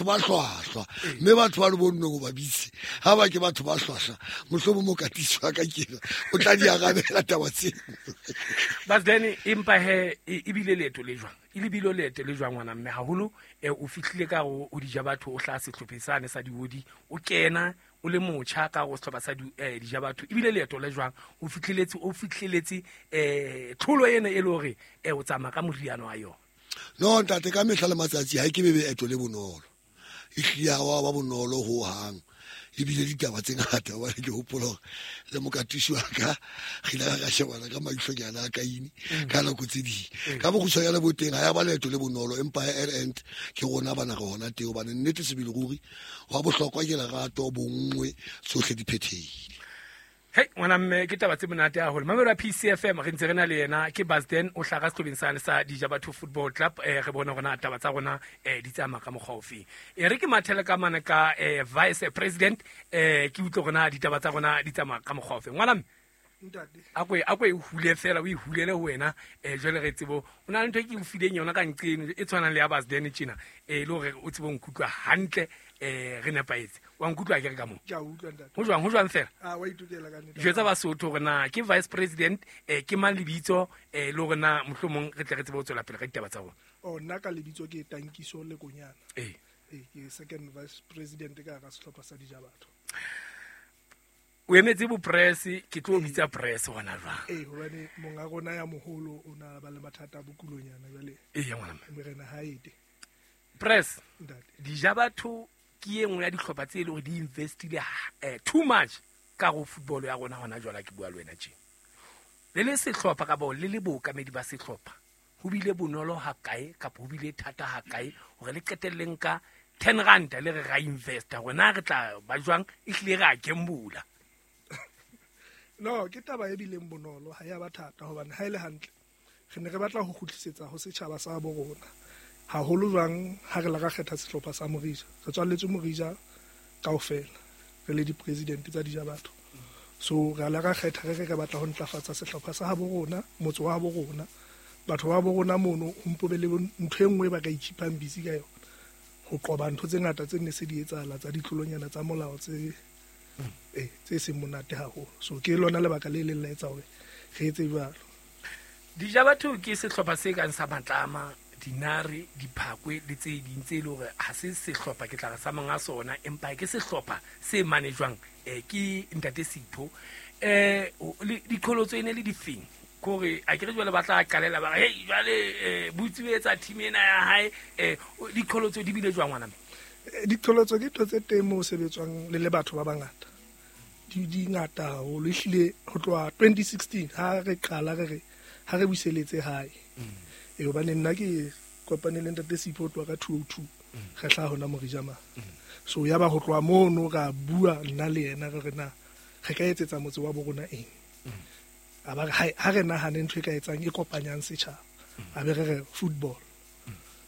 Ba hlwahlwa, mme batho ba le bonnong o ba bitse ga ba ke batho ba hlwahlwa, mohlomong mokatisi wa ka kena o tla di arabela taba tseno. Basden, empa he ebile leeto le jwang, e lebile leeto le jwang ngwana mme? Haholo o fihlile ka go o dija batho, o hlaha sehlopheng sane sa diodi, o kena o le motjha ka go sehlopha sa dija batho, ebile leeto le jwang o fihleletse, o fihleletse tlholo ena e le hore o tsamaya ka moriana wa yona? No ntate, ka mehla le matsatsi ha ke bebe eto le bonolo, e hlile ha wa ba bonolo ho hang, ebile ditaba tse ngata. Hobane ke hopola hore le mokatisi wa ka re ile ra shebana ka maihlonyana a kaine ka nako tse ding. Ka bokgutshwanyane bo teng, ha ya ba leeto le bonolo, empa end ke rona bana re hona teng, hobane nnete sebele ruri wa bohlokwa ke lerato, bonngwe, tsohle di phethehile. Hei ngwana mme, ke taba tse monate haholo. Mamelo ya PCFM, re ntse re na le yena ke Basden, o hlaha sehlopheng sane sa Dija Batho Football Club. Re bone hore na taba tsa rona di tsamaya ka mokgwa ofeng. E re ke mathele ka mane ka vice president, ke utlwe hore na ditaba tsa rona di tsamaya ka mokgwa ofeng. Ngwana mme, a ko e hule fela, o e hulele ho wena. Jwale re tsebo o na le ntho e ke o fileng yona ka nqeno e tshwanang le ya Basden tjena, le hore o tsebe ho nkutlwa hantle, re nepahetse. Wa nkutlwa ke re ka moo? Ke a utlwa, ntate. Ho jwang, ho jwang fela? Ah, wa itokela ka nnete. Jwetsa Basotho hore na ke vice president, ke mang lebitso, le hore na mohlomong re tle re tsebe ho tswela pele ka ditaba tsa rona. Oh, nna ka lebitso ke Tankiso Lekonyana. Ke second vice president ka hara sehlopha sa Dija Batho. O emetse bo press, ke tlo bitsa press hona jwang. Ee, hobane monga rona ya moholo o na ba le mathata a bokulonyana jwale. Ee, ngwana mme. Morena ha ete. Press. Ntate. Dija Batho ke e nngwe ya dihlopha tse e leng hore di investile too much ka go football ya rona hona jwale ke bua le wena tje. Le le sehlopha ka bao le le bookamedi ba sehlopha, ho bile bonolo ha kae kapa ho bile thata ha kae hore le qetelleng ka 10 rand le re ra investa, hore na re tla ba jwang, ehlile re a gambula? No, ke taba e bileng bonolo, ha ya ba thata, hobane ha e le hantle re ne re batla ho kgutlisetsa ho setjhaba sa bo rona, haholo jwang ha re la ra kgetha sehlopha sa Morija. Re tswalletswe Morija kaofela, re le di-president tsa Dija Batho, so re la ra kgetha re re re batla ho ntlafatsa sehlopha sa habo rona, motse wa habo rona, batho ba bo rona mono, ho mpo be le ntho e nngwe ba ka ikhipang busy ka yona, ho qoba ntho tse ngata tse ne se di etsahala tsa ditlolonyana tsa molao tse tse seng monate haholo. So ke lona lebaka le leng la etsa hore re etse jwalo. Dija Batho ke sehlopha se kang sa Matlama, Dinare, Diphakwe le tse ding tse e leng hore ha se sehlopha ke tla re sa monga sona, empa ke sehlopha se manejwang ke ntate Sipho. Diqholotso e ne le difeng? Kore a ke re jwale ba tla qalela ba re, hey, jwale botsi o etsa team ena ya hae, diqholotso di bile jwang ngwana mme? Diqholotso ke ntho tse teng moo sebetswang le le batho ba bangata. Di ngata haholo, ehlile ho tloha 2016 ha re qala re re ha re buseletse hae. Hobane nna ke kopane le ntate Sipho ho tloha ka 202, re hlaha hona Morija mane. So ya ba ho tloha mono ra bua nna le yena re re na re ka etsetsa motse wa bo rona eng. A ba re, hai, ha re nahane ntho e ka etsang e kopanyang setjhaba. A be re re football.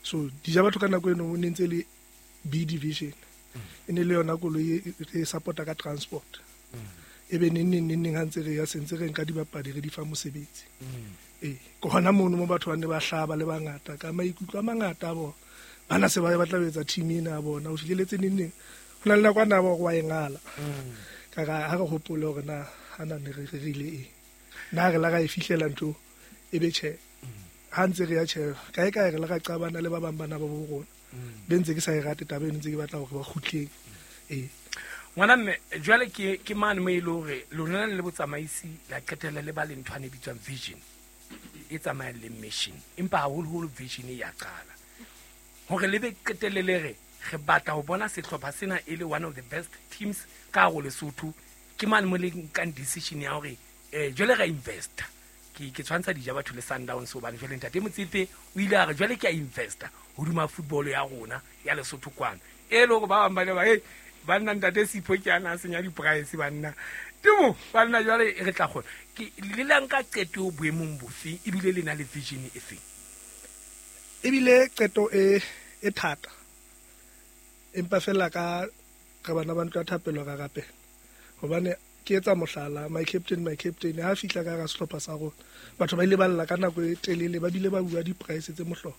So Dija Batho ka nako eno ne ntse le B division. E ne le yona koloi e re support-a ka transport. E be neng neng neng neng ha ntse re ya sentse re nka dibapadi re di fa mosebetsi. Ke hona mono mo batho ba ne ba hlaba le bangata ka maikutlo a mangata a bona. Bana se ba batla ho etsa team ena ya bona, o fihleletse neng neng. Ho na le nako a na ba hore wa e ngala. Ka ra ha re hopole hore na ha na ne re rerile eng. Na re la ra e fihlela ntho e be tjhe. Ha ntse re ya tjhe, kae kae re la ra qabana le ba bang bana ba bo rona. Be ntse ke sa e rate taba eno, ntse ke batla hore ba kgutleng. Ngwana mme, jwale ke mane mo e le hore lona le botsamaisi la qetella le ba le nthwane e bitswang vision e tsamayang le mission, empa haholoholo vision e ya qala hore le be qetelle le re re batla ho bona sehlopha sena e le one of the best teams ka hare ho Lesotho. Ke mane mo le nkang decision ya hore jwale ra investa. Ke tshwantsha Dija Batho le Sundowns, hobane jwale ntate Motsepe o ile a re jwale ke a investa hodima football ya rona ya Lesotho kwano, e le hore ba bang ba ne ba, hey, banna ntate Sipho ke ana a senya di-price banna temo banna, jwale re tla kgona. Ke le la nka qeto boemong bofe, ebile le na le vision e feng? Ebile qeto e thata, empa fela ka re bana ba ntlo ya thapelo ra rapela, hobane ke etsa mohlala, my captain, my captain ha fihla ka hara sehlopha sa rona, batho ba ile ba lla ka nako e telele, ba bile ba bua di-price tse mohlolo.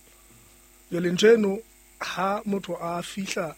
Jwale ntho eno Ha motho a fihla.